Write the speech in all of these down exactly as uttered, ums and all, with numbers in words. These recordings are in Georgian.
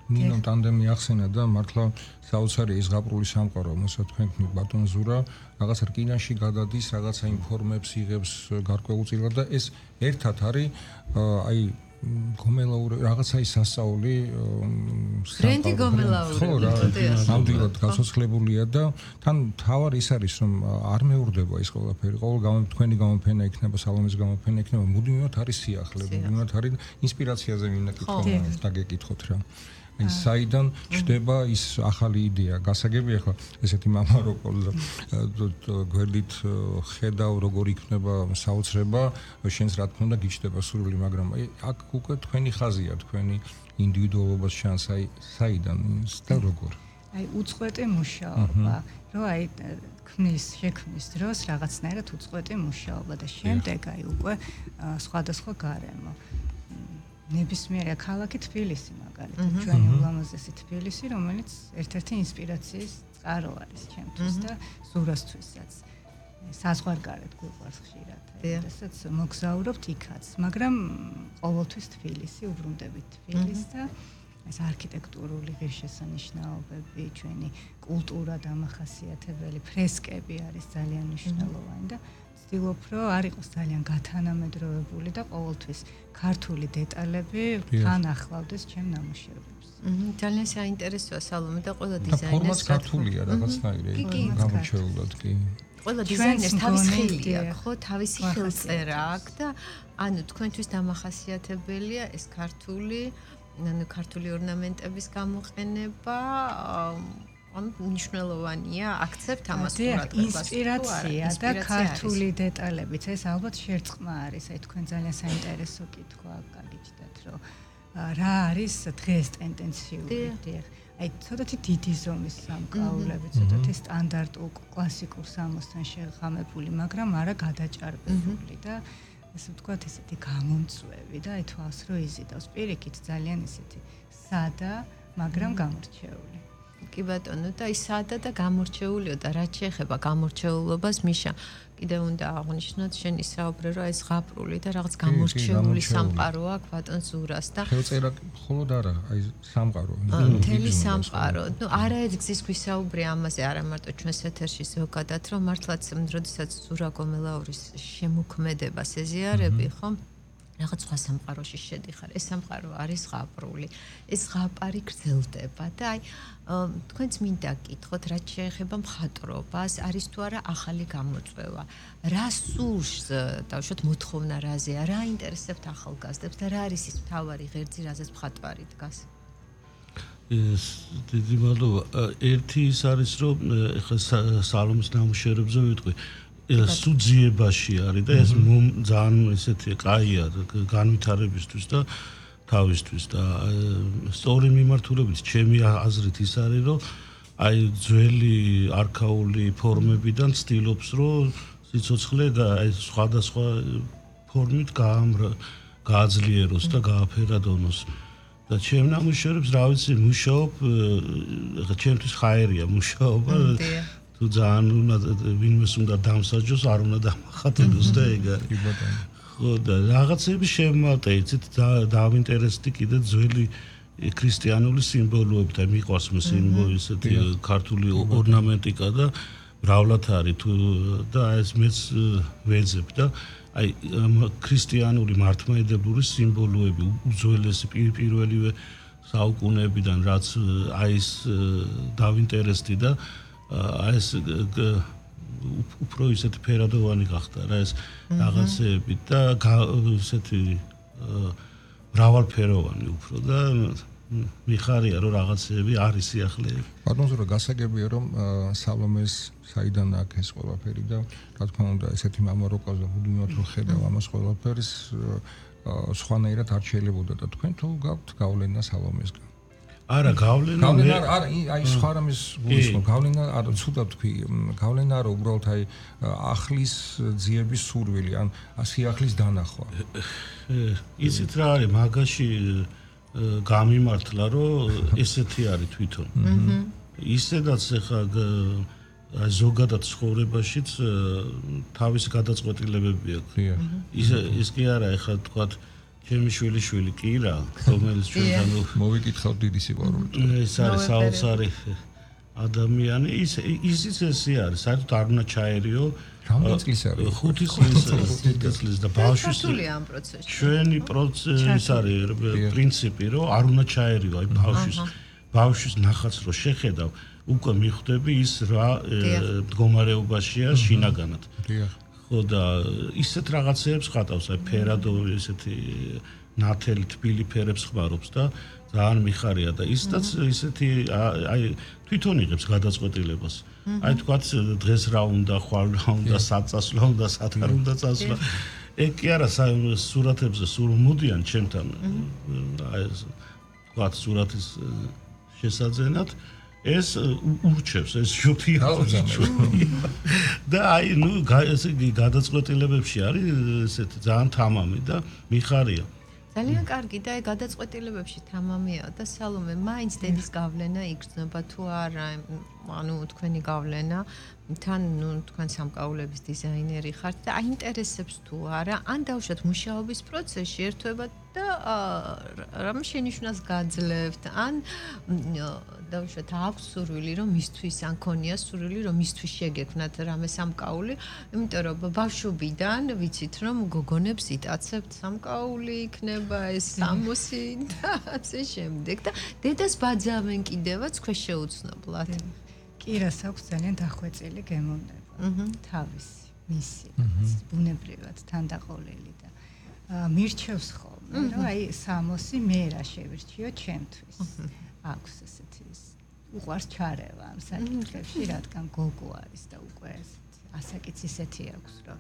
ნინო ტანდემი ახსენა და მართლა საოცარი ის ზღაპრული სამყარო, მოსაც თქვენ ბატონ ზურა, რაღაცა რკინაში გადადის, რაღაცა ინფორმებს იღებს გარკვეულწილად და ეს ერთად არის აი გომელაური რაღაცა ის სასწაული ბრენდი გომელაური ნამდვილად გასოცხლებულია და თან თავარ ის არის რომ არ მეურდება ის ყველაფერი ყოველ გამო თქვენი გამოფენა იქნება სალომის გამოფენა იქნება მუდმივად არის სიახლე მუდმივად არის ინსპირაციაზე მინდა კითხვა დაგეკითხოთ რა აი საიდან ჩდება ის ახალი იდეა გასაგებია ხო ესეთი მამა რო ყოლ გვერდით ხედავ როგორ იქნება საოცრება შენს რა თქმა უნდა გიჩდება სურვილი მაგრამ აი აქ უკვე თქვენი ხაზია თქვენი ინდივიდუალობას შანს აი საიდან და როგორ აი უწყვეტი მუშაობა რო აი ქმნის შექმნის დროს რაღაცნაირად უწყვეტი მუშაობა და შემდეგ აი უკვე სხვადასხვა გარემო ნებისმიერი ქალაქი თბილისი მაგალითად ჩვენი ულამაზესი თბილისი რომელიც ერთ-ერთი ინსპირაციის წყარო არის ჩემთვის და ზურასთვისაც საზღვარგარეთ გვიყვარს ხშირად რასაც მოგზაურობთ იქაც მაგრამ ყოველთვის თბილისი უბრუნდებით თბილისს და ეს არქიტექტურული ღირსშესანიშნაობები ჩვენი კულტურა დამახასიათებელი ფრესკები არის ძალიან მნიშვნელოვანი და ვცდილობ რომ არ იყოს ძალიან გათანამედროვებული და ყოველთვის ქართული დეტალები თან ახლავდეს ჩემ ნამუშევრებს. ძალიან საინტერესოა სალომე და ყველა დიზაინერს ფორმაც ქართულია რაღაცნაირი გამორჩეულად კი. ყველა დიზაინერს თავის ხილი აქვს, ხო, თავისი ხელწერა აქვს და ანუ თქვენთვის დამახასიათებელია ეს ქართული, ანუ ქართული ორნამენტების გამოყენება ანუ მნიშვნელოვანია აქცევთ ამას ყურადღებას ინსპირაცია და ქართული დეტალებიც ეს ალბათ შერწყმა არის აი თქვენ ძალიან საინტერესო კითხვა გაგიჩნდათ რომ რა არის დღეს ტენდენციული აი ცოტათი დიდი ზომის სამკაულები ცოტათი სტანდარტულ კლასიკურ სამოსთან შეღამებული მაგრამ არა გადაჭარბებული და ასე ვთქვათ ესეთი გამომწვევი და აი თვალს რო იზიდავს პირიქით ძალიან ესეთი სადა მაგრამ გამორჩეული კი ბატონო და ის სადა და გამორჩეულიო და რაც შეეხება გამორჩეულობას მიშა კიდევ უნდა აღნიშნოთ შენ ისაუბრე რომ ეს ზღაპრული და რაღაც გამორჩეული სამყარო აქვს ბატონ ზურას და ხელწერა მხოლოდ არა აი სამყარო მთელი სამყარო ნუ არაერთგზის გვისაუბრე ამაზე არა მარტო ჩვენს ეთერში ზოგადად რომ მართლაც როდესაც ზურა გომელაურის შემოქმედებას ეზიარები ხო რაღაც სხვა სამყაროში შედიხარ. ეს სამყარო არის ზღაპრული. ეს ზღაპარი გრძელდება და აი თქვენც მინდა გკითხოთ რაც შეეხება მხატვრობას, არის თუ არა ახალი გამოწვევა. რა სურს დავუშვათ მოთხოვნა რაზეა, რა ინტერესებთ ახალგაზრდებს და რა არის ის მთავარი ღერძი, რაზეც მხატვარი დგას? ეს დიდი მადლობა. ერთი ის არის რომ ეხლა სალომის ნამუშევრებზე ვიტყვი სუძიებაში არის და ეს ძალიან ესეთი კაია განვითარებისთვის და თავისთვის და სწორი მიმართულებით ჩემი აზრით ის არის რომ აი ძველი არქაული ფორმებიდან ცდილობს რომ სიცოცხლე აი სხვადასხვა ფორმით გააძლიეროს და გააფერადონოს და ჩემ ნამუშევრებს რა ვიცი მუშაობ ეხლა ჩემთვის ხაერია მუშაობა თუ ძალიან უნდა ვინმეს უნდა დამსაჯოს არ უნდა დამახატებოს და ეგ არის ხო და რაღაცები შემოვატე იცით დავინტერესდი კიდე ძველი ქრისტიანული სიმბოლოები და მიყვარს მე სიმბოლო ისეთი ქართული ორნამენტიკა და მრავლად არის თუ და ეს მეც ვეძებ და აი ქრისტიანული მართლმადიდებლური სიმბოლოები უძველესი პირველივე საუკუნეებიდან რაც აი ეს დავინტერესდი და აი ეს უფრო ისეთი ფერადოვანი გახდა რა ეს რაღაცები და ისეთი მრავალფეროვანი უფრო და მიხარია რომ რაღაცები არის სიახლეები. ბატონო ზურა გასაგებია რომ სალომეს საიდან აქვს ეს ყველაფერი და რა თქმა უნდა ესეთი მამა რო ყავს და მუდმივად რო ხედავ ამას ყველაფერს სხვანაირად არ შეიძლებოდა და თქვენ თუ გაქვთ გავლენა სალომესგან არა გავლენა გავლენა არა აი სხვა რამის გულისხმობ გავლენა არა ცუდად თქვი გავლენა არა უბრალოდ აი ახლის ძიების სურვილი ან სიახლის დანახვა იცით რა არის მაგაში გამიმართლა რომ ესეთი არის თვითონ ისედაც ახლა აი ზოგადად ცხოვრებაშიც თავის გადაწყვეტილებები აქვს ის ის კი არა ახლა თქვათ ჩემი შვილი შვილი კი რა, რომელიც ჩვენთან მოვიკითხავთ დიდი სიყვარული. ეს არის საოცარი ადამიანი, ის ისიც ესე არის, საერთოდ არ უნდა ჩაერიო. რამდენი წლის არის? ხუთი წლის და ბავშვის ამ პროცესში. ჩვენი პროცესი არის პრინციპი, რომ არ უნდა ჩაერიო აი ბავშვის ბავშვის ნახაც რო შეხედავ, უკვე მიხვდები ის რა მდგომარეობაშია შინაგანად. დიახ. ხო და ისეთ რაღაცეებს ხატავს, აი ფერადო ესეთი ნათელი თბილი ფერებს ხმარობს და ძალიან მიხარია და ისედაც ისეთი აი თვითონ იღებს გადაწყვეტილებას. აი თქვათ დღეს რა უნდა, ხვალ რა უნდა, საწასვლა უნდა, სათან უნდა წასვლა. ეგ კი არა სურათებზე სულ მოდიან ჩემთან. აი ეს თქვათ სურათის შესაძენად ეს ურჩევს ეს შუთია და აი ნუ ესე გადაწყვეტილებებში არის ესეთი ძალიან თამამი და მიხარია ძალიან კარგი და აი გადაწყვეტილებებში თამამია და სალომე მაინც დედის გავლენა იგრძნობა თუ არა ანუ თქვენი გავლენა თან ნუ თქვენ სამკაულების დიზაინერი ხართ და აინტერესებს თუ არა ან დავუშვათ მუშაობის პროცესში ერთვება და რამ შენიშვნას გაძლევთ ან დავუშვათ აქვს სურვილი რომ მისთვის ან ქონია სურვილი რომ მისთვის შეგექმნათ რამე სამკაული იმიტომ რომ ბავშვობიდან ვიცით რომ გოგონებს იტაცებთ სამკაული იქნება ეს სამოსი და ასე შემდეგ და დედას ბაძავენ კიდევაც ქვეშეუცნობლად კი რას აქვს ძალიან დახვეწილი გემოვნება თავისი მისი ბუნებრივად თანდაყოლილი და მირჩევს ხოლმე რომ აი სამოსი მე რა შევირჩიო ჩემთვის აქვს ესეთი უყვარს ჩარევა ამ საკითხებში რადგან გოგო არის და უკვე ესეთი ასაკიც ისეთი აქვს რომ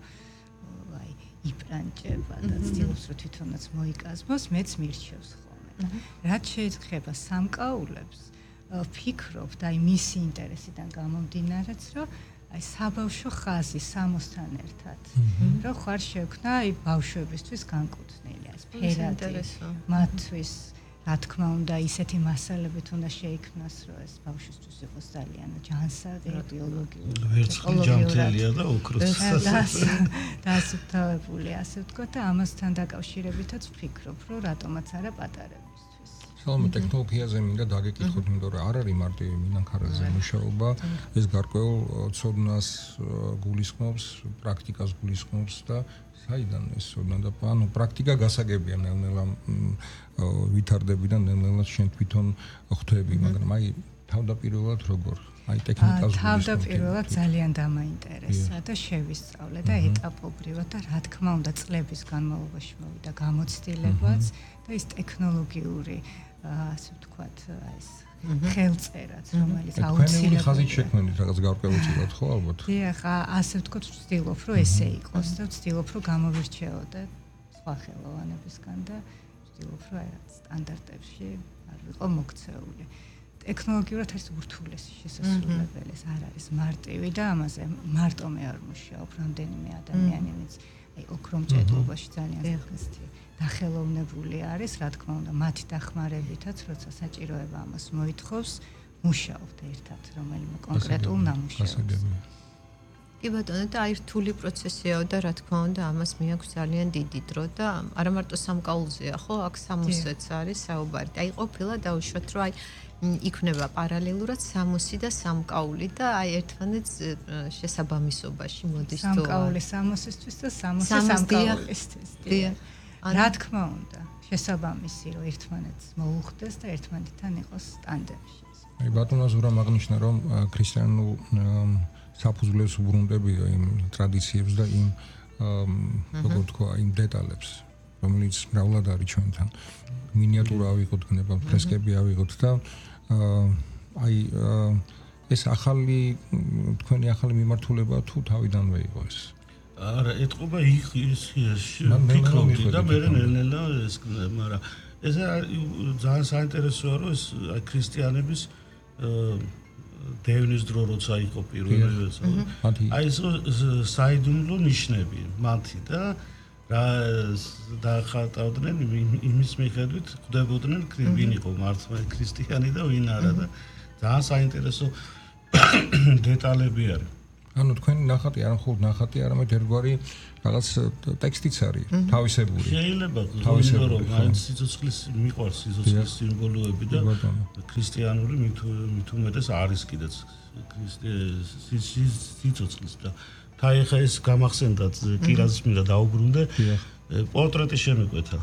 აი იპრანჭება და ცდილობს რომ თვითონაც მოიკაზმოს მეც მირჩევს ხოლმე რაც შეიძლება სამკაულებს ფიქრობთ აი მისი ინტერესიდან გამომდინარეც რომ აი საბავშვო ხაზი სამოსთან ერთად რომ ხარ შექმნა აი ბავშვებისთვის განკუთვნილი ეს ფერადი მათთვის რა თქმა უნდა ისეთი მასალებით უნდა შეიქმნას რომ ეს ბავშვისთვის იყოს ძალიან ჯანსაღი ბიოლოგიური ვერცხლი ჯანმრთელია და ოქროს დასუფთავებული ასე ვთქვათ და ამასთან დაკავშირებითაც ვფიქრობ რომ რატომაც არა პატარებისთვის სალომე ტექნოლოგიაზე მინდა დაგეკითხოთ იმიტომ რომ არ არის მარტივი მინანქარაზე მუშაობა ეს გარკვეულ ცოდნას გულისხმობს პრაქტიკას გულისხმობს და საიდან ეს ცოდნა და ანუ პრაქტიკა გასაგებია ნელ-ნელა ვითარდები და ნელ-ნელა შენ თვითონ ხვდები მაგრამ აი თავდაპირველად როგორ აი ტექნიკას თავდაპირველად ძალიან დამაინტერესა და შევისწავლე და ეტაპობრივად და რა თქმა უნდა წლების განმავლობაში მოვიდა გამოცდილებაც და ის ტექნოლოგიური ასე ვთქვათ ეს ხელწერაც რომელიც აუცილებლად ხაზით შექმნით რაღაც გარკვეულწილად ხო ალბათ დიახ ასე ვთქვათ ვცდილობ რომ ესე იყოს და ვცდილობ რომ გამოვირჩეოდე სხვა ხელოვანებისგან და ვცდილობ რომ აი რაღაც სტანდარტებში არ ვიყო მოქცეული ტექნოლოგიურად არის ურთულესი შესაძლებელი ეს არ არის მარტივი და ამაზე მარტო მე არ მუშაობ რამდენიმე ადამიანი ვინც აი ოქრომჭედლობაში ძალიან ზოგადად დახელოვნებული არის, რა თქმა უნდა, მათი დახმარებითაც, როცა საჭიროება ამას მოითხოვს, მუშაობთ ერთად, რომელიმე კონკრეტულ ნამუშევრს. კი ბატონო, და აი რთული პროცესია და რა თქმა უნდა, ამას მიაქვს ძალიან დიდი დრო და არა მარტო სამკაულზეა, ხო, აქ სამოსეც არის საუბარი. აი ყოფილა დაუშვათ, რომ აი იქნება პარალელურად სამოსი და სამკაული და აი ერთმანეთს შესაბამისობაში მოდის თუ სამკაული სამოსისთვის და სამოსი სამკაულისთვის. დიახ. რა თქმა უნდა, შესაბამისი რომ ერთმანეთს მოუხდეს და ერთმანეთთან იყოს ტანდემში. აი ბატონო ზურამ აღნიშნა რომ ქრისტიანულ საფუძვლებს უბრუნდებია იმ ტრადიციებს და იმ როგორ თქვა იმ დეტალებს, რომელიც მრავლად არის ჩვენთან. მინიატურა ავიღოთ, გნება ფრესკები ავიღოთ და აი ეს ახალი თქვენი ახალი მიმართულება თუ თავიდანვე იყო ეს? არა, ეთყობა იქ ის ფიქრობდი და მე ნელ-ნელა ეს მაგრამ ეს ძალიან საინტერესოა რომ ეს ქრისტიანების დევნის დრო როცა იყო პირველი აი ეს საიდუმლო ნიშნები მათი და რა დახატავდნენ იმის მიხედვით ხვდებოდნენ ვინ იყო მართლა ქრისტიანი და ვინ არა და ძალიან საინტერესო დეტალები არის ანუ თქვენი ნახატი არ მხოლოდ ნახატი, არამედ ერთგვარი რაღაც ტექსტიც არის, თავისებური. შეიძლება თავისებური, რომ აი სიცოცხლის მიყვარს სიცოცხლის სიმბოლოები და ქრისტიანური მით უმეტეს არის კიდეც სიცოცხლის და თაი ხა ეს გამახსენდათ კირაზის მინდა დაუბრუნდე პორტრეტი შემიკვეთა.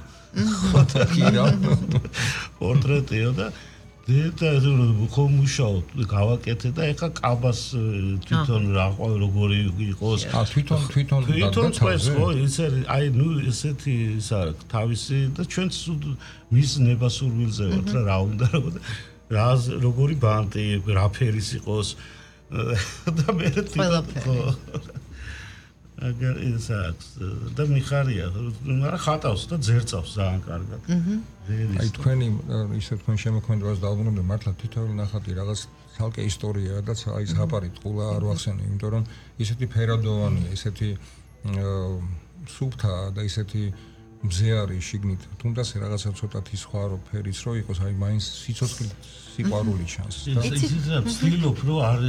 კირა პორტრეტიო და და ხომ მუშაობ გავაკეთე და ეხა კაბას თვითონ რა როგორი იყოს ა თვითონ თვითონ თვითონ წეს ხო ეს აი ნუ ესეთი ის არის თავისი და ჩვენც მის ნებასურვილზე ვართ რა რა უნდა რა როგორი ბანტი რა ფერის იყოს და მე ხო აგერ ის აქვს და მიხარია მაგრამ ხატავს და ძერწავს ძალიან კარგად აი თქვენი ისე თქვენ შემოქმედებას დაუბრუნდე მართლა თითოეული ნახატი რაღაც ცალკე ისტორიაა და აი ზღაპარი ტყულა არ ვახსენე იმიტომ რომ ისეთი ფერადოვანია ისეთი სუფთა და ისეთი მზე არის შიგნით თუნდაც რაღაცა ცოტათი სხვა რო ფერიც რო იყოს აი მაინც სიცოცხლე სიყვარული ჩანს და იცით ვცდილობ რომ არ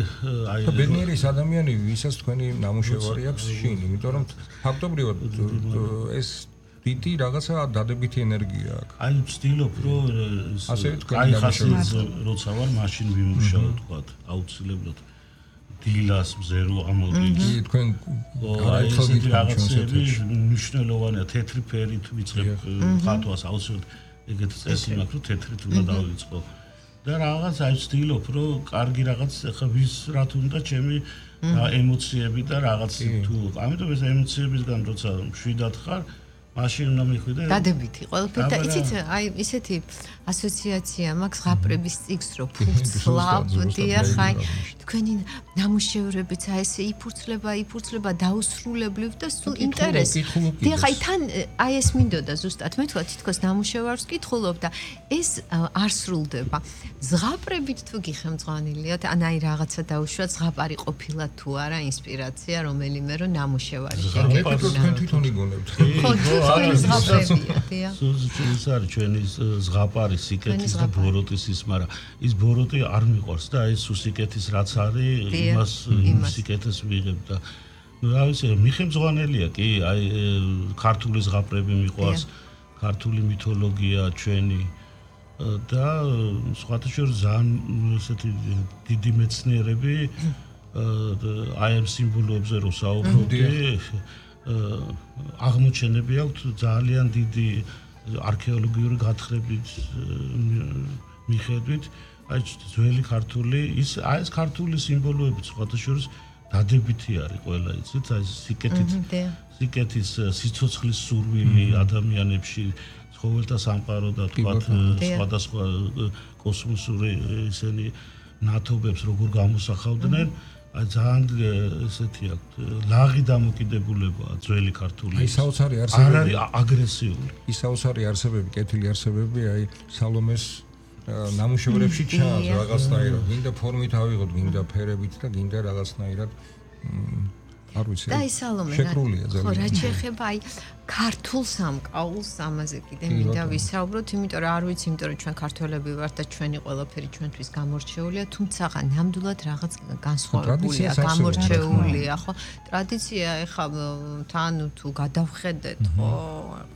აი ბედნიერი ადამიანი ვისაც თქვენი ნამუშევარი აქვს შინ იმიტომ რომ ფაქტობრივად ეს დიდი რაღაცა დადებითი ენერგია აქვს აი ვცდილობ რომ ასე აი ხასი როცა ვარ მაშინ ვიმუშაო თქვა აუცილებლად დილას მზე რო ამოდი თქვენ გაიხსნით რაღაცები მნიშვნელოვანია თეთრი ფერით ვიწყებ ხატვას აუცილებლად ეგეთ წესი მაქვს რომ თეთრით უნდა დავიწყო და რაღაც აი ვცდილობ რომ კარგი რაღაც ხა ვის რა თუნდა ჩემი ემოციები და რაღაც თუ ამიტომ ეს ემოციებისგან როცა მშვიდად ხარ მაშინ უნდა მიხვიდე დადებითი ყველაფერი და იცით აი ისეთი ასოციაცია მაქვს ზღაპრების წიგს რო ფურცლავდია ხაი თქვენი ნამუშევრებიც აი ესე იფურცლება იფურცლება დაუსრულებლივ და სულ ინტერესი და ხაი თან აი ეს მინდოდა ზუსტად მე თქვა თითქოს ნამუშევარს კითხულობ და ეს არ სრულდება ზღაპრებით თუ გიხემძღვანილიათ ან აი რაღაცა დაუშვათ ზღაპარი ყოფილა თუ არა ინსპირაცია რომელიმე რო ნამუშევარი შეგეკეთო თქვენ თვითონ იგონებთ ხო თქვენი ზღაპრებია დია ის არის ჩვენი ზღაპარი სიკეთის და ბოროტის ის, მაგრამ ის ბოროტი არ მიყვარს და ეს სიკეთის რაც არის, იმას სიკეთეს ვიღებ და რა ვიცი, მიხემძღვანელია კი, აი ქართული ზღაპრები მიყვარს, ქართული მითოლოგია ჩვენი და სხვათა შორის ძალიან ესეთი დიდი მეცნიერები აი ამ სიმბოლოებზე რო საუბრობდი, აღმოჩენები აქვს ძალიან დიდი არქეოლოგიური გათხრებით მიხედვით აი ძველი ქართული ის აი ეს ქართული სიმბოლოები სხვათა შორის დადებითი არის ყველა იცით აი სიკეთით სიკეთის სიცოცხლის სურვილი ადამიანებში ცხოველთა სამყარო და თქვათ სხვადასხვა კოსმოსური ისენი ნათობებს როგორ გამოსახავდნენ აი ძალიან ესეთი აქვს ლაღი დამოკიდებულებაა ძველი ქართული აი საოცარი არსებები არ არის აგრესიული ის საოცარი არსებები კეთილი არსებები აი სალომეს ნამუშევრებში ჩანს რაღაცნაირად გინდა ფორმით ავიღოთ გინდა ფერებით და გინდა რაღაცნაირად არ ვიცი და ის სალომე ხო რა შეეხება აი ქართულ სამკაულს ამაზე კიდე მინდა ვისაუბროთ იმიტომ რომ არ ვიცი იმიტომ რომ ჩვენ ქართველები ვართ და ჩვენი ყველაფერი ჩვენთვის გამორჩეულია თუმცა ნამდვილად რაღაც განსხვავებულია გამორჩეულია ხო ტრადიცია ეხა თან თუ გადავხედეთ ხო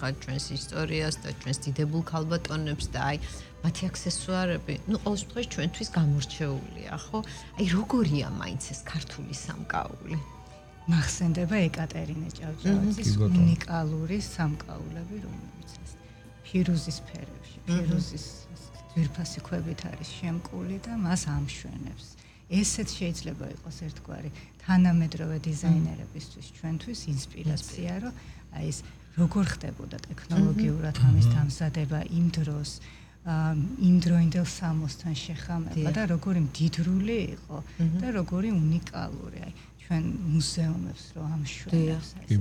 ხა ჩვენს ისტორიას და ჩვენს დიდებულ ქალბატონებს და აი მათი აქსესუარები ნუ ყოველ შემთხვევაში ჩვენთვის გამორჩეულია ხო აი როგორია მაინც ეს ქართული სამკაული მახსენდება ეკატერინე ჭავჭავაძის უნიკალური სამკაულები, რომლებიც ეს ფირუზის ფერებში, ფირუზის ძვირფასი ქვებით არის შემკული და მას ამშვენებს. ესეც შეიძლება იყოს ერთგვარი თანამედროვე დიზაინერებისთვის ჩვენთვის ინსპირაცია, რომ აი ეს როგორ ხდებოდა ტექნოლოგიურად ამის დამზადება იმ დროს, იმ დროინდელ სამოსთან შეხამება და როგორი მდიდრული იყო და როგორი უნიკალური აი ჩვენ მუზეუმებს რო ამშვენებს ესეთი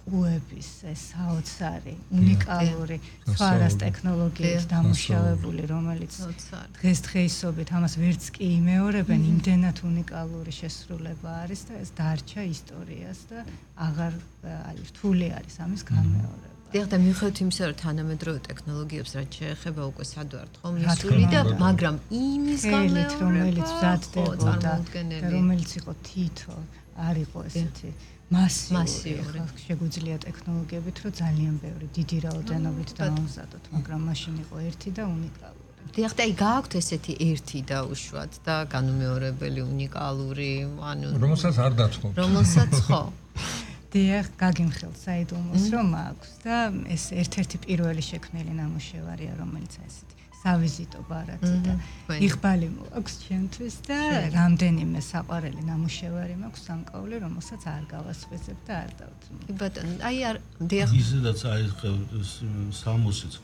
კუების ეს საოცარი უნიკალური ფარას ტექნოლოგიით დამუშავებული რომელიც დღესდღეობით ამას ვერც კი იმეორებენ იმდენად უნიკალური შესრულება არის და ეს დარჩა ისტორიას და აღარ აი რთული არის ამის გამეორება დიახ და მიუხედავად იმისა, რომ თანამედროვე ტექნოლოგიებს რაც შეეხება უკვე სადვართ ხო მისული და მაგრამ იმის გამეორება რომელიც მზადდებოდა და რომელიც იყო თითო არ იყო ესეთი მასიური შეგვიძლია ტექნოლოგიებით რომ ძალიან ბევრი დიდი რაოდენობით დავამზადოთ მაგრამ მაშინ იყო ერთი და უნიკალური დიახ და აი გააქვთ ესეთი ერთი და უშუალოდ და განუმეორებელი უნიკალური ანუ რომელსაც არ დათხოვთ რომელსაც ხო დიახ გაგიმხელთ საიდუმლოს რომ აქვს და ეს ერთ-ერთი პირველი შექმნილი ნამუშევარია რომელიც ესეთი სავიზიტო ბარათი და იღბალი მოაქვს ჩემთვის და რამდენიმე საყვარელი ნამუშევარი მაქვს სამკაული რომელსაც არ გავასხვისებ და არ დავთმო. კი ბატონო, აი არ დიახ ისედაც აი სამოსიც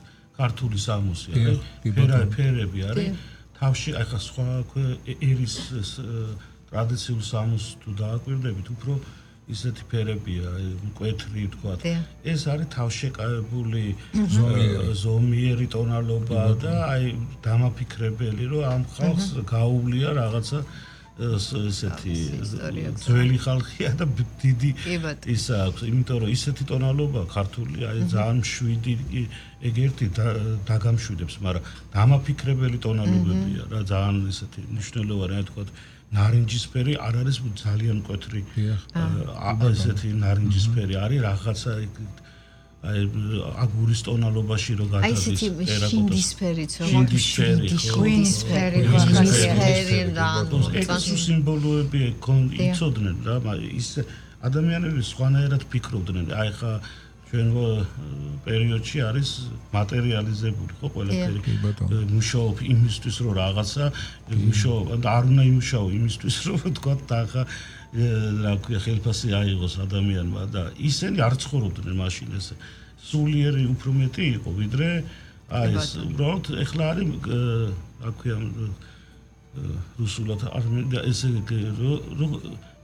ქართული სამოსი არის ფერები ფერები არის თავში აი ხა სხვა ერის ტრადიციულ სამოს თუ დააკვირდებით უფრო ისეთი ფერებია, მკვეთრი თქვა. ეს არის თავშეკავებული ზომიერი ტონალობა და აი დამაფიქრებელი, რომ ამ ხალხს გაუვლია რაღაცა ესეთი ძველი ხალხია და დიდი ისა აქვს, იმიტომ რომ ისეთი ტონალობა ქართული აი ძალიან მშვიდი ეგ ერთი დაგამშვიდებს, მაგრამ დამაფიქრებელი ტონალობებია რა ძალიან ესეთი მნიშვნელოვანი რა თქვა ნარინჯისფერი არ არის ძალიან მკვეთრი ესეთი ნარინჯისფერი არის რაღაცა აი აგურის ტონალობაში რო გადადის აი ესეთი შინდისფერიც რო შინდისფერი ღვინისფერი ეს სიმბოლოები იცოდნენ რა ის ადამიანები სხვანაირად ფიქრობდნენ აი ხა ჩვენ პერიოდში არის მატერიალიზებული ხო ყველაფერი მუშაობ იმისთვის რომ რაღაცა მუშაობ არ უნდა იმუშაო იმისთვის რომ თქვა და ხა რა ქვია ხელფასი აიღოს ადამიანმა და ისინი არ ცხოვრობდნენ მაშინ ესე სულიერი უფრო მეტი იყო ვიდრე აი ეს უბრალოდ ეხლა არის რა ქვია რუსულად არ ესე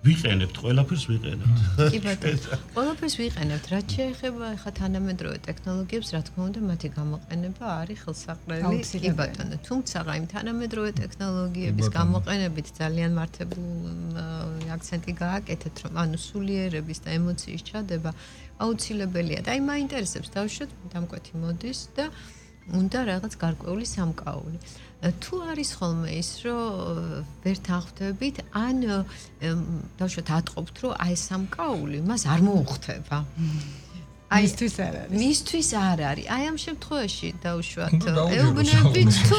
ვიყენებთ, ყველაფერს ვიყენებთ. კი ბატონო. ყველაფერს ვიყენებთ. რაც შეეხება ხა თანამედროვე ტექნოლოგიებს, რა თქმა უნდა, მათი გამოყენება არის ხელსაყრელი. კი ბატონო. თუმცა აი თანამედროვე ტექნოლოგიების გამოყენებით ძალიან მართებული აქცენტი გააკეთეთ, რომ ანუ სულიერების და ემოციის ჩადება აუცილებელია. და აი მაინტერესებს დავუშვათ დამკვეთი მოდის და უნდა რაღაც გარკვეული სამკაული. თუ არის ხოლმე ის რომ ვერ თანხმდებით ან დავუშვათ ატყობთ რომ აი სამკაული მას არ მოუხდება აი მისთვის არ არის მისთვის არ არის აი ამ შემთხვევაში დავუშვათ ეუბნებით თუ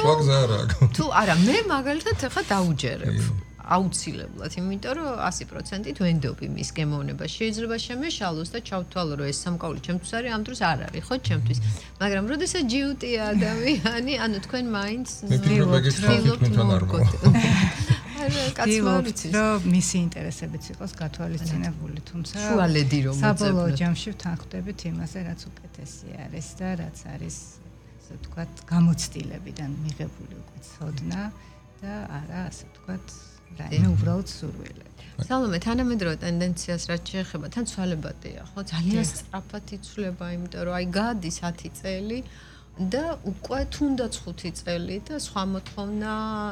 თუ არა მე მაგალითად ახლა დაუჯერებ აუცილებლად, იმიტომ რომ ასი პროცენტით ვენდობი მის გემოვნება. შეიძლება შემეშალოს და ჩავთვალო, რომ ეს სამკაული ჩემთვის არის, ამ დროს არ არის, ხო, ჩემთვის. მაგრამ როდესაც ჯიუტია ადამიანი, ანუ თქვენ მაინც კაცმარიცის რომ მისი ინტერესებიც იყოს გათვალისწინებული, თუმცა შუალედი რომ საბოლოო ჯამში ვთანხმდებით იმაზე, რაც უკეთესი არის და რაც არის, ასე ვთქვათ, გამოცდილებიდან მიღებული უკვე ცოდნა და არა, ასე ვთქვათ, რაიმე უბრალოდ სურვილები. სალომე, თანამედროვე ტენდენციას რაც შეეხება, თან ცვალებადია, ხო? ძალიან სწრაფად იცვლება, იმიტომ რომ აი გადის ათი წელი და უკვე თუნდაც ხუთი წელი და სხვა მოთხოვნა,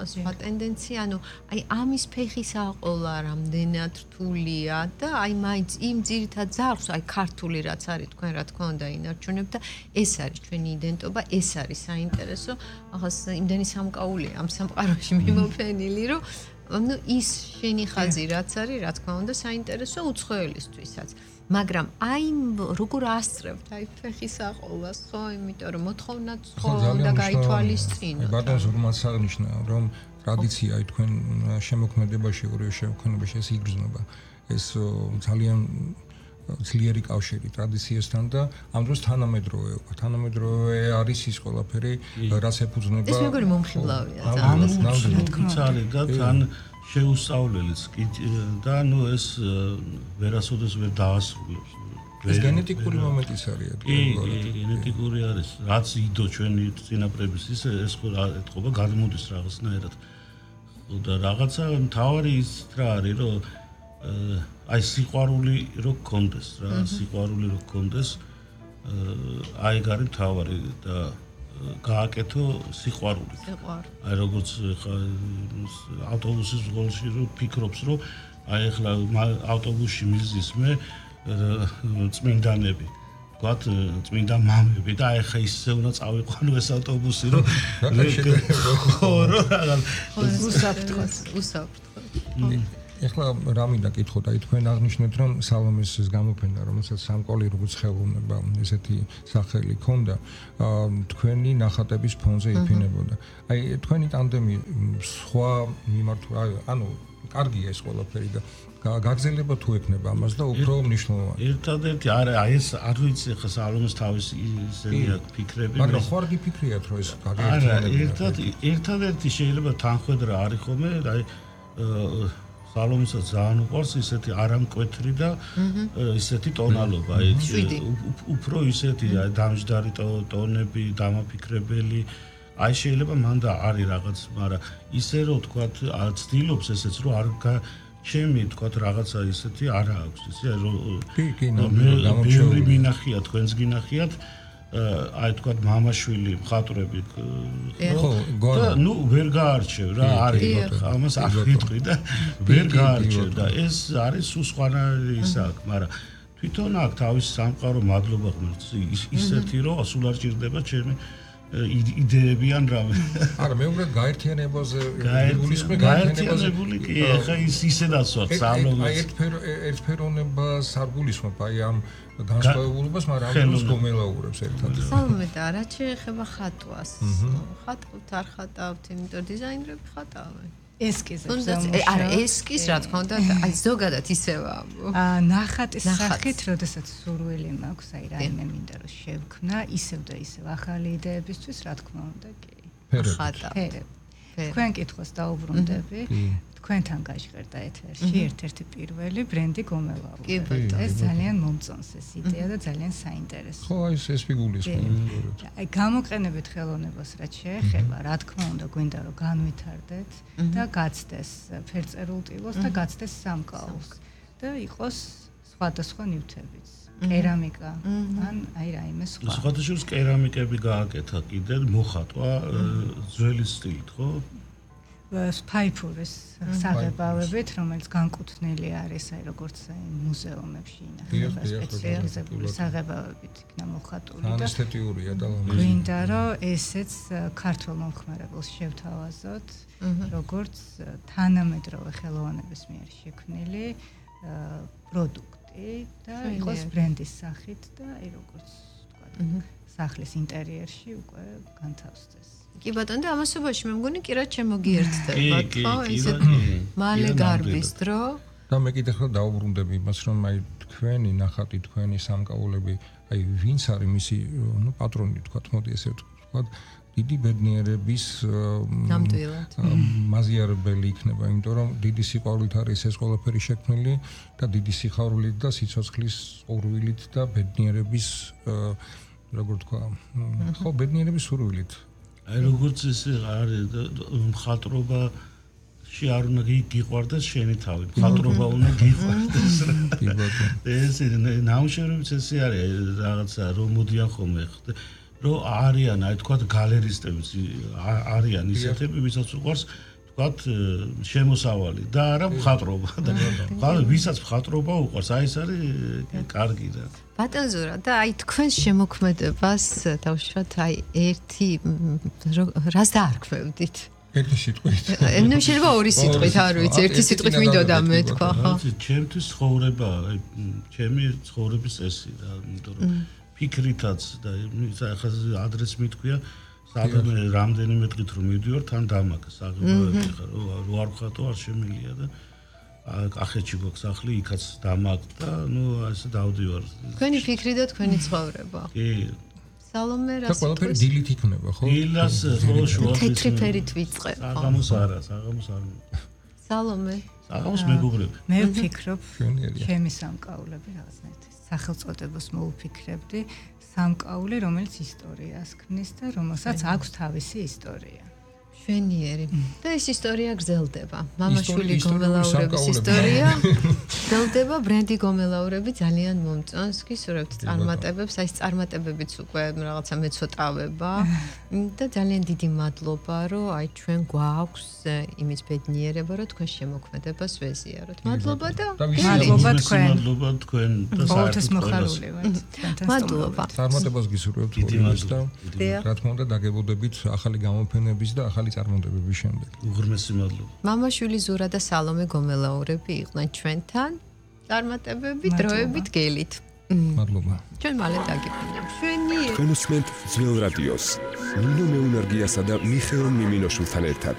სხვა ტენდენცია, ანუ აი ამის ფეხის აყოლა რამდენად რთულია და აი მაინც იმ ძირითად ძარღვს, აი ქართული რაც არის თქვენ რა თქმა უნდა ინარჩუნებთ და ეს არის ჩვენი იდენტობა, ეს არის საინტერესო. ახას იმდენი სამკაულია ამ სამყაროში მიმოფენილი, რომ ანუ ის შენი ხაზი რაც არის, რა თქმა უნდა, საინტერესო უცხოელისთვისაც. მაგრამ აი როგორ ასწრებთ აი ფეხის აყოლას, ხო, იმიტომ რომ მოთხოვნაც ხო და გაითვალისწინოთ. ბატონს რომაც აღნიშნა, რომ ტრადიცია აი თქვენ შემოქმედებაში, ორივე შემოქმედებაში ეს იგრძნობა. ეს ძალიან ძლიერი კავშირი ტრადიციასთან და ამ დროს თანამედროვეობა. თანამედროვე არის ის ყველაფერი, რაც ეფუძნება. ეს როგორი მომხიბლავია ძალიან და თან შეუსწავლელიც და ნუ ეს ვერასოდეს ვერ დაასრულებს. ეს გენეტიკური მომენტიც არის. კი, გენეტიკური არის. რაც იდო ჩვენი წინაპრების ის ეს ხო ეთყობა გადმოდის რაღაცნაირად. და რაღაცა მთავარი ის რა არის, რომ აი სიყვარული რო გქონდეს რა, სიყვარული რო გქონდეს, აი გარი მთავარი და გააკეთო სიყვარული. აი როგორც ხა ავტობუსის გოლში რო ფიქრობს, რომ აი ახლა ავტობუსში მიზის მე წმინდანები. თქვათ წმინდა მამები და აი ხა ისე უნდა წავიყვანო ეს ავტობუსი რომ ხო რა უსაფრთხოდ უსაფრთხოდ ეხლა რა მინდა კითხოთ, აი თქვენ აღნიშნეთ რომ სალომეს ეს გამოფენა, რომელსაც სამკაული როგორც ხელოვნება ესეთი სახელი ჰქონდა, თქვენი ნახატების ფონზე იფინებოდა. აი თქვენი ტანდემი სხვა მიმართვა, ანუ კარგია ეს ყველაფერი და გაგზელება თუ ექნება ამას და უფრო მნიშვნელოვანი. ერთადერთი არა, აი ეს არ ვიცი ხა სალომეს თავის ისეთი აქვს ფიქრები. მაგრამ ხო არ გიფიქრიათ რომ ეს გაგერთიანება. არა, ერთად ერთადერთი შეიძლება თანხმედრა არის ხოლმე, აი სალომესაც ძალიან უყვარს ისეთი არამკვეთრი და ისეთი ტონალობა, აი უფრო ისეთი დამჯდარი ტონები, დამაფიქრებელი. აი შეიძლება მან და არის რაღაც, მაგრამ ისე რომ თქვათ ცდილობს ესეც რომ არ ჩემი თქვათ რაღაცა ისეთი არა აქვს, ისე რომ კი, კი, გამორჩეული მინახია, თქვენს გინახიათ აი თქვათ მამაშვილი მხატვრები ხო გონა ნუ ვერ გაარჩევ რა არის ამას არ ვიტყვი და ვერ გაარჩევ და ეს არის სუსხანარი ის აქვს მაგრამ თვითონ აქ თავის სამყარო მადლობა ღმერთს ისეთი რომ სულ არ ჭირდება ჩემი იდეები ან რამე არა მე უკვე გაერთიანებაზე გულისხმე გაერთიანებული კი ეხა ის ისედაც ვარ სალომეს აი ერთფერონებას არ გულისხმობ აი ამ განსხვავებულობას, მაგრამ ამას გომელაურებს ერთად. სალომე და რა შეეხება ხატვას? ხატავთ არ ხატავთ, იმიტომ დიზაინერები ხატავენ. ესკიზებს. არა, ესკიზ რა თქმა უნდა, აი ზოგადად ისევა. აა ნახატის სახით, როდესაც სურვილი მაქვს, აი რაიმე მინდა რომ შევქმნა, ისევ და ისევ ახალი იდეებისთვის, რა თქმა უნდა, კი. ხატავთ. თქვენ კითხოს დაუბრუნდები. თქვენთან გაჟღერდა ეთერში ერთ-ერთი პირველი ბრენდი გომელაური. ეს ძალიან მომწონს ეს იდეა და ძალიან საინტერესოა. ხო, ეს ეს ფიგურისმე. აი გამოყენებით ხელოვნებას რაც შეეხება, რა თქმა უნდა, გვინდა რომ განვითარდეთ და გაცდეს ფერწერულ ტილოს და გაცდეს სამკაულს და იყოს სხვადასხვა ნივთებიც. კერამიკა ან აი რაიმე სხვა. სხვადასხვა კერამიკები გააკეთა კიდე მოხატვა ძველი სტილით, ხო? ფაიფურის საღებავებით, რომელიც განკუთვნილი არის აი როგორც აი მუზეუმებში ინახება სპეციალიზებული საღებავებით იქნა მოხატული და ესთეტიურია და გვინდა რომ ესეც ქართულ მომხმარებელს შევთავაზოთ როგორც თანამედროვე ხელოვნების მიერ შექმნილი პროდუქტი და იყოს ბრენდის სახით და აი როგორც თქვა სახლის ინტერიერში უკვე განთავსდეს. კი ბატონო და ამასობაში მე მგონი კი რა შემოგიერთდებათ ხო ესეთი მალე გარბის დრო და მე კიდე ხელ დაუბრუნდები იმას რომ აი თქვენი ნახატი თქვენი სამკაულები აი ვინც არის მისი ნუ პატრონი თქვათ მოდი ესე ვთქვათ დიდი ბედნიერების ნამდვილად მაზიარებელი იქნება იმიტომ რომ დიდი სიყვარულით არის ეს ყველაფერი შექმნილი და დიდი სიხარულით და სიცოცხლის ორვილით და ბედნიერების როგორ თქვა ხო ბედნიერების სურვილით აი როგორც ეს არის მხატვრობაში არ უნდა გიყვარდეს შენი თავი მხატვრობა უნდა გიყვარდეს ეს ნამუშევრებიც ესე არის რაღაცა რომ მოდიან ხოლმე რომ არიან აი თქვა გალერისტებიც არიან ისეთები ვისაც უყვარს თქვათ შემოსავალი და არა მხატვრობა და ვისაც მხატვრობა უყვარს აი ეს არის კარგი რა ბატონ ზურა და აი თქვენს შემოქმედებას თავშოთ აი ერთი რას დაარქმევდით ერთი სიტყვით ნუ შეიძლება ორი სიტყვით არ ვიცი ერთი სიტყვით მინდოდა მე თქვა ხო ჩემთვის ცხოვრება აი ჩემი ცხოვრების წესი რა იმიტომ რომ ფიქრითაც და ახლა ადრეს მithქვია სადმე რამდენიმე დღით რომ მივდივარ თან დამაკ საღებავები ხარ რო არ ვხატო არ შემილია და ახეთში გვაქვს სახლი იქაც დამაკ და ნუ ასე დავდივარ თქვენი ფიქრი და თქვენი ცხოვრება კი სალომე რა და ყველაფერი დილით იქნება ხო დილას ხო შუა თეთრი ფერით ვიწყებ ხო საღამოს არა საღამოს არ სალომე საღამოს მეგობრები მე ვფიქრობ ჩემი სამკაულები რაღაცნაირად სახელწოდებას მოვფიქრებდი სამკაული, რომელიც ისტორიას ქმნის და რომელსაც აქვს თავისი ისტორია. ჩვენიერი და ეს ისტორია გრძელდება. მამაშვილი გომელაურების ისტორია გრძელდება. ბრენდი გომელაურები ძალიან მომწონს. გისურვებთ წარმატებებს, აი ეს წარმატებებიც უკვე რაღაცა მეცოტავება და ძალიან დიდი მადლობა, რომ აი ჩვენ გვაქვს იმის ბედნიერება, რომ თქვენ შემოქმედებას ვეზიაროთ. მადლობა და მადლობა თქვენ. მადლობა თქვენ და საერთოდ მოხარული ვართ. მადლობა. წარმატებას გისურვებთ ყველას და რა თქმა უნდა დაგებოდებით ახალი გამოფენების და ახალი წარმატებების შემდეგ. უღრმესი მადლობა. მამაშვილი ზურა და სალომე გომელაურები იყვნენ ჩვენთან. წარმატებები დროებით გელით. მადლობა. ჩვენ მალე დაგიბრუნდებით. ჩვენი თქვენ უსმენთ ძველ რადიოს. ნინო მეუნარგიასა და მიხეილ მიმინოშვილთან ერთად.